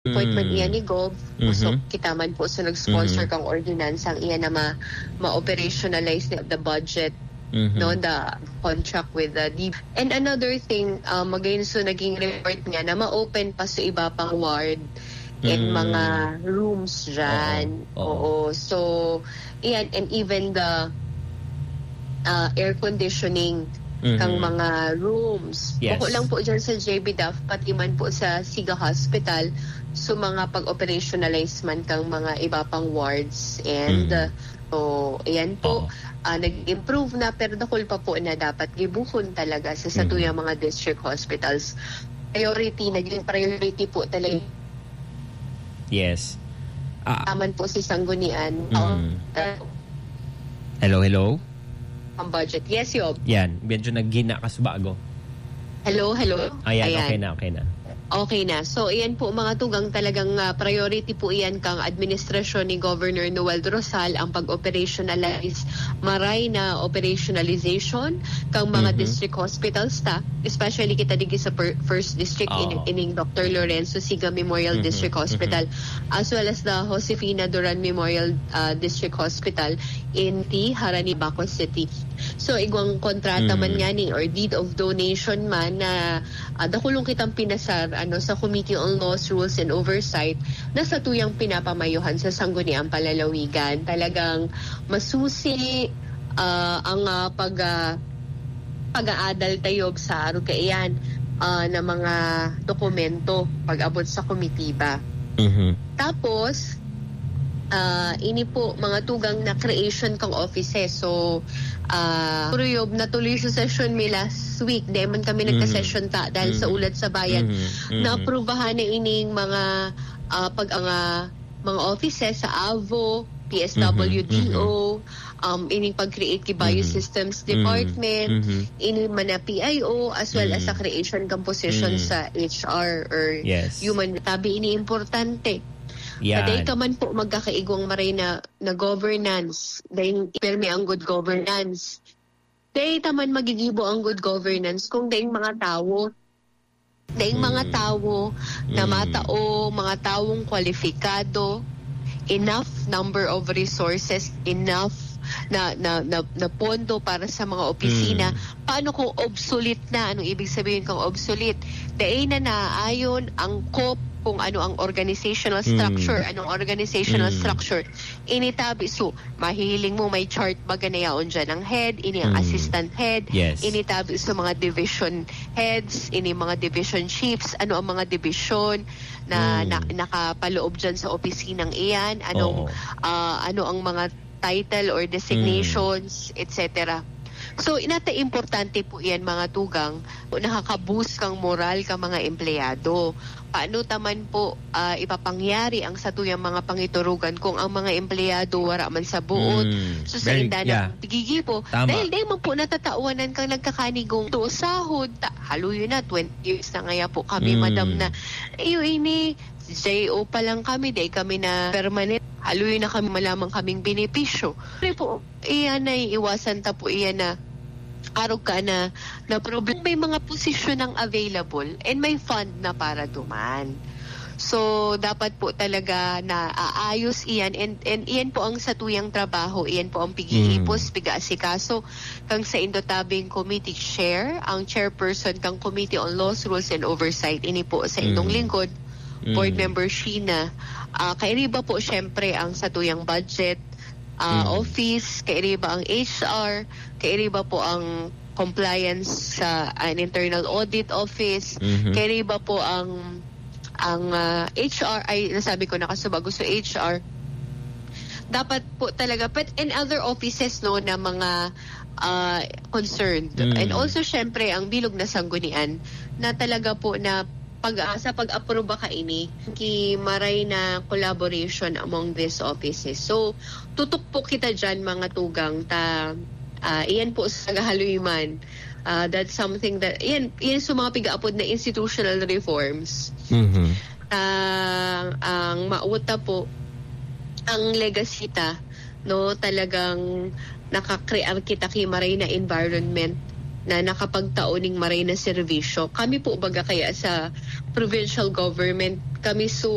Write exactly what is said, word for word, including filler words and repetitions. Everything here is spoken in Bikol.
appointment Mm. iyan ni Gov. So, Mhm. kita man po sa nag-sponsor Mhm. kang ordinansa, ang iyan na ma-, ma-operationalize na the budget, Mhm. no, the contract with the D-, and another thing, ah, magayon, so, naging report niya na ma-open pa sa iba pang ward and Mm. mga rooms dyan. Oo. Oo. Oo. So, iyan, and even the, ah, air conditioning Mhm. kang mga rooms. Yes. Bako lang po dyan sa J B Duff, pati man po sa Siga Hospital, so mga pag-operationalize man kang mga iba pang wards and, Mhm. uh, so, ayan po, Oo. ah, nag-improve na, pero dakul pa po na dapat gibohon talaga sa Mhm. satuyang mga district hospitals. Priority, naging priority po talaga Yes. Ah. Taman po si Sanggunian. Mm. Oo. Hello, hello? Ang budget. Yes, Yob. Yan. Medyo naghina ka sa bago. Hello, hello. Ayan, Ayan. okay na, okay na. Okay na. So, iyan po, mga tugang, talagang, ah, priority po iyan kang administrasyon ni Governor Noel Rosal, ang pag-operationalize, maray na operationalization kang mga Mhm. district hospitals ta, especially kita digi sa per-, first district, Oo. in-, ining Doctor Lorenzo Siga Memorial Mhm, District mhm. Hospital, as well as the Josefina Duran Memorial, ah, District Hospital in T. Harani, Baco City. So, igwang kontrata man Mm. nga ni or deed of donation man na, ah, dakulong kitang pinasar, ano, sa Committee on Laws, Rules, and Oversight na satuyang pinapamayohan sa Sangguniang Palalawigan. Talagang masusi, ah, ang, ah, pag, ah, pag-aadal tayo sa arog kaiyan, ah, na mga dokumento pag-abot sa komitiba. Mhm. Tapos, ah, ini po, mga tugang na creation kang offices. So, ah, Kuya Yob, natuloy sa session mi last week. Dai man kami Mhm. nagka-session ta dahil sa Mhm. ulat sa bayan. Mhm. Mhm. Naaprubahan na ining mga, ah, pag, mga, mga offices sa AVO, P S W D O, Mhm. Mhm. um, ining pag-create ki Mhm. Biosystems Mhm. Department, Mhm. ini man na P I O, as well as sa Mhm. creation kang position Mhm. sa H R or Yes. human. Tabi ini importante. Yan. Paday ka man po magkakaigwang maray na, na governance, dahil pirmi ang good governance. Dai ta man magigibo ang good governance kung daing mga tawo, daing mga Mm. tawo na Mm. matao, mga tawong kwalipikado, enough number of resources, enough na, na, na, na pondo para sa mga opisina. Mm. Paano kung obsolete na? Anong ibig sabihin kang obsolete? Dai na naayon ang kop kung ano ang organizational Mm. structure, anong organizational Mm. structure. Ini tabi, so, mahihiling mo, may chart baga na yaon dyan ang head, ini ang Mm. assistant head, Yes. ini tabi sa mga division heads, ini mga division chiefs, ano ang mga division na, Mm. na nakapaloob dyan sa opisinang iyan, anong, Oo. ah, ano ang mga title or designations, Mm. et cetera. So, inata importante po iyan, mga tugang, nakaka-boost kang moral ka mga empleyado. Paano ta man po, ah, ipapangyari ang satuyang mga pangiturugan kung ang mga empleyado wara man sa buot? Mm. So, sa Very, inda na yeah. pigigibo, Tama. dahil dai man po natatawanan kang nagkakanigong to sahod, ta-, haloy na, twenty years na ngaya po kami, Mm. madam, na, iyo ini, J O pa lang kami, dai kami na permanent. Haloy na kami, malamang kaming benepisyo. Pero po, iyan na iiwasan ta po, iyan na arog ka na, na problem. May mga posisyon ang available and may fund na para duman. So, dapat po talaga na aayos iyan and, and iyan po ang satuyang trabaho, iyan po ang pig-iipos, Mm. pig-aasikaso kang sa Indotabing Committee Chair, ang chairperson kang Committee on Laws, Rules and Oversight. Ini po sa indong Mm. lingkod, Board Mm. Member Sheena. Ah, kairiba po, syempre, ang satuyang budget, ah, Mm. office, kairiba ang H R, kairiba po ang compliance sa, ah, an internal audit office, Mhm. kairiba po ang, ang, ah, H R, ay, nasabi ko na kasubago, so H R, dapat po talaga, but in other offices, no, na mga, ah, concerned. Mm. And also, syempre, ang bilog na sanggunian na talaga po na pag, ah, sa pag-aproba kaini, ki maray na collaboration among these offices. So, tutok po kita dyan, mga tugang, ta, ah, iyan po sa nagahaloy man. Ah, that's something that, iyan, iyan sa mga pigaapod na institutional reforms. Mhm. Ah, ang mauta po, ang legacy ta, no, talagang nakakrear kita ki maray na environment na nakapagtao ning maray na serbisyo. Kami po baga kaya sa provincial government, kami so